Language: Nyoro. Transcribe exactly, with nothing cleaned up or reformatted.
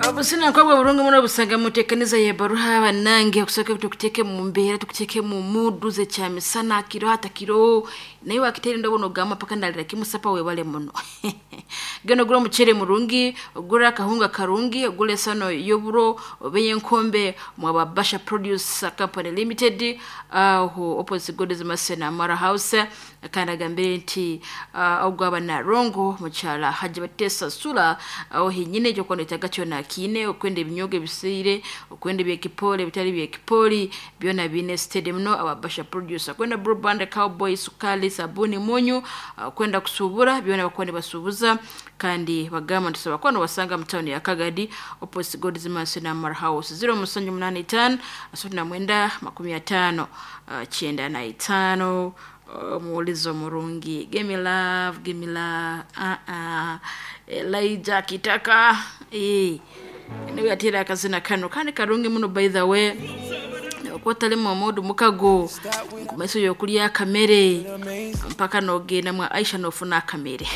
Obusina nkobwa burungi muno busanga muteekaniza yebaruha bannange okusooka tukuteeke mu mbeera, tukuteeke mu mudu zekyamisana kiro hata kiro naye wakiteera endobo nogamba paka ndalira kimusapa. Webale muno. Genda ogula omuceere murungi, ogula akahunga karungi, ogula esano y'oburo oba ey'enkombe mwaba Basha Produce Company Limited, aho opposite Godes Masena Mara House. Kandi agambire nti uh, ogwaba Narongo mukyala Hajji Batesa Sula, aho hinyine ekyokuba noetaaga kyona akiine. Okwenda ebinyogo ebisiire, okwenda ebyekipoli, ebitali byekipoli, byona biine steady muno aba Basha Producer. Kwenda Blue Band, Cowboy, sukali, sabuni, munyu, uh, kwenda kusuubura, byona bakuba nibasuubuza. Kandi bagamba nti sobola kuba nobasanga mu tawuni ya Kagadi, opposite Gods Mansion Amara House, zero musanju munaana itaano asatu na mwenda makumi ataano uh, kyenda na itaano. Omuwulizo omurungi, give me love, give me love. uh -uh. Elijah Kitaka eh niwe yateera akazina kano kandi karungi muno. By the way, okuba otalimu omudu mukago kumaiso yokulya akamere mpaka nogenda mwa Aisha nofuna akamere.